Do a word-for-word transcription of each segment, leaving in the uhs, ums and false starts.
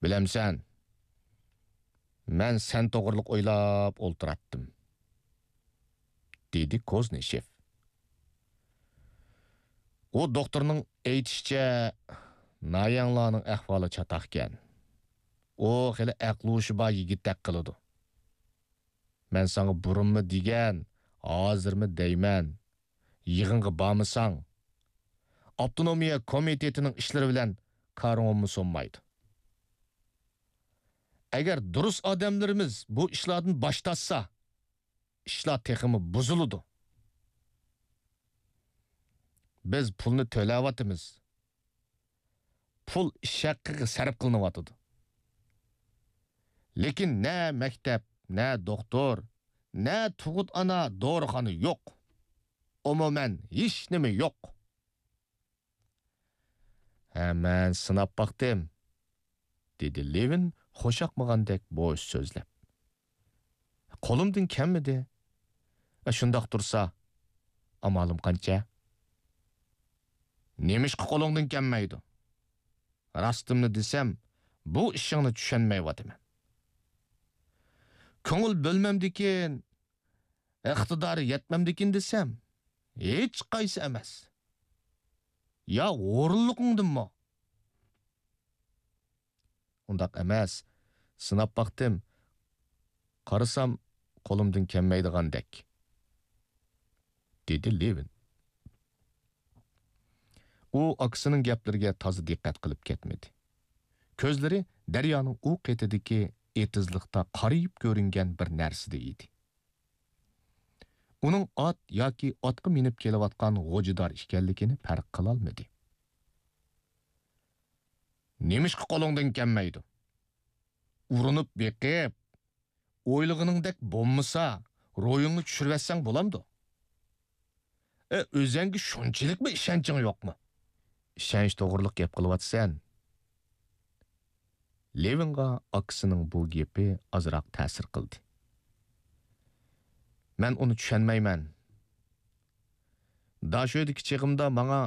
بىلەمسەن، مەن سەن توغرىلىق ئويلاپ ئولتۇراتتىم، دېدى كوزنىشېف. ئۇ دوختۇرنىڭ ئېيتىشىچە، نايەڭلارنىڭ ئەھۋالى چاتاقكەن. ئۇ خېلى ئەقلى-ھوشى بار يىگىتتەك قىلىدۇ. مەن ساڭا بۇرۇنمۇ دېگەن، ھازىرمۇ دەيمەن، يىغىنغا بارمىساڭ، ئاپتونومىيە كومىتېتىنىڭ ئىشلىرى بىلەن كارىڭمۇ سۇنمايدۇ. ئەگەر دۇرۇس ئادەملىرىمىز بۇ ئىشلاردىن باش تارتسا، ئىشلار تېخىمۇ بۇزۇلىدۇ. بىز پۇلنى تۆلەۋاتىمىز. پۇل ئىش ھەققىگە سەرپ قىلىنىۋاتىدۇ. لېكىن نە مەكتەپ، نە دوختۇر، نە تۇغۇت ئانا دورىخانا يوق. ئومۇمەن ھېچنېمە يوق. ھە، مەن سىناپ باقتىم، دېدى لېۋىن خۇشياقمىغاندەك بوش سۆزلەپ. قولۇمدىن كەلمىدى. شۇنداق تۇرسا، ئامالىم قانچە؟ نېمىشقا قولۇڭدىن كەلمەيدۇ؟ راستىمنى دېسەم، بۇ ئىشىڭنى چۈشەنمەيۋاتىمەن. كۆڭۈل بۆلمەمدىكىن، ئىقتىدارى يەتمەمدىكىن دېسەم، ھېچقايسى ئەمەس. يا ھۇرۇنلۇقۇڭدىنمۇ؟ ئۇنداق ئەمەس. سىناپ باقتىم. قارىسام، قولۇمدىن كەلمەيدىغاندەك، دېدى لېۋىن. ئۇ ئاكىسىنىڭ گەپلىرىگە تازا دىققەت قىلىپ كەتمىدى. كۆزلىرى دەريانىڭ ئۇ قېتىدىكى ئېتىزلىقتا قارىيىپ كۆرۈنگەن بىر نەرسىدە ئىدى. ئۇنىڭ ئات ياكى ئاتقا مىنىپ كېلىۋاتقان غوجىدار ئىكەنلىكىنى پەرق قىلالمىدى. نېمىشقا قولۇڭدىن كەلمەيدۇ؟ ئۇرۇنۇپ بېقىپ، ئويلىغىنىڭدەك بولمىسا، روھىڭنى چۈشۈرۈۋەتسەڭ بولامدۇ؟ ئە، ئۆزەڭگە شۇنچىلىكمۇ ئىشەنچىڭ يوقمۇ؟ ئىشەنچ توغرىلىق گەپ قىلىۋاتىسەن. لېۋىنغا ئاكىسىنىڭ بۇ گېپى ئازراق تەسىر قىلدى. مەن ئۇنى چۈشەنمەيمەن. داشۆدىكى چېغىمدا ماڭا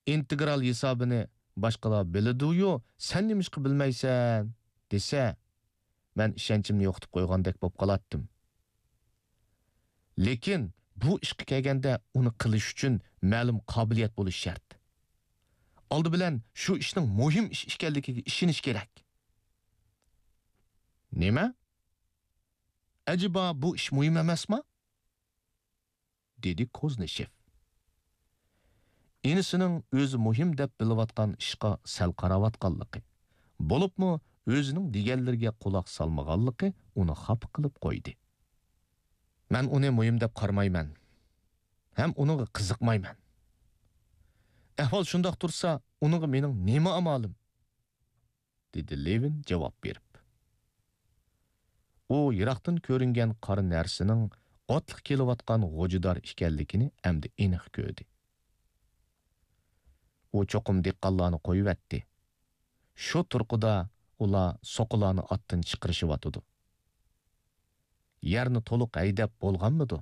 ئىنتېگرال ھېسابىنى باشقىلار بىلىدۇ-يۇ، سەن نېمىشقا بىلمەيسەن؟ دېسە، مەن ئىشەنچىمنى يوقىتىپ قويغاندەك بولۇپ قالاتتىم. لېكىن بۇ ئىشقا كەلگەندە ئۇنى قىلىش ئۈچۈن مەلۇم قابىلىيەت بولۇش شەرت. ئالدى بىلەن شۇ ئىشنىڭ مۇھىم ئىش ئىكەنلىكىگە ئىشىنىش كېرەك. نېمە؟ ئەجەبا بۇ ئىش مۇھىم ئەمەسما؟ دېدى كوزنىشېف. ئىنىسىنىڭ ئۆزى مۇھىم دەپ بىلىۋاتقان ئىشقا سەل قاراۋاتقانلىقى، بولۇپمۇ ئۆزىنىڭ دېگەنلىرىگە قۇلاق سالمىغانلىقى ئۇنى خاپا قىلىپ قويدى. مەن ئۇنى مۇھىم دەپ قارىمايمەن ھەم ئۇنىڭغا قىزىقمايمەن. ئەھۋال شۇنداق تۇرسا، ئۇنىڭغا مېنىڭ نېمە ئامالىم؟ دېدى لېۋىن جاۋاب بېرىپ. ئۇ يىراقتىن كۆرۈنگەن قارا نەرسىنىڭ ئاتلىق كېلىۋاتقان غوجىدار ئىكەنلىكىنى ئەمدى ئېنىق كۆردى. ئۇ چوقۇم دېھقانلارنى قويۇۋەتتى. شۇ تۇرقىدا ئۇلار سوقىلارنى ئاتتىن چىقىرىشىۋاتىدۇ. يەرنى تولۇق ھەيدەپ بولغانمىدۇ؟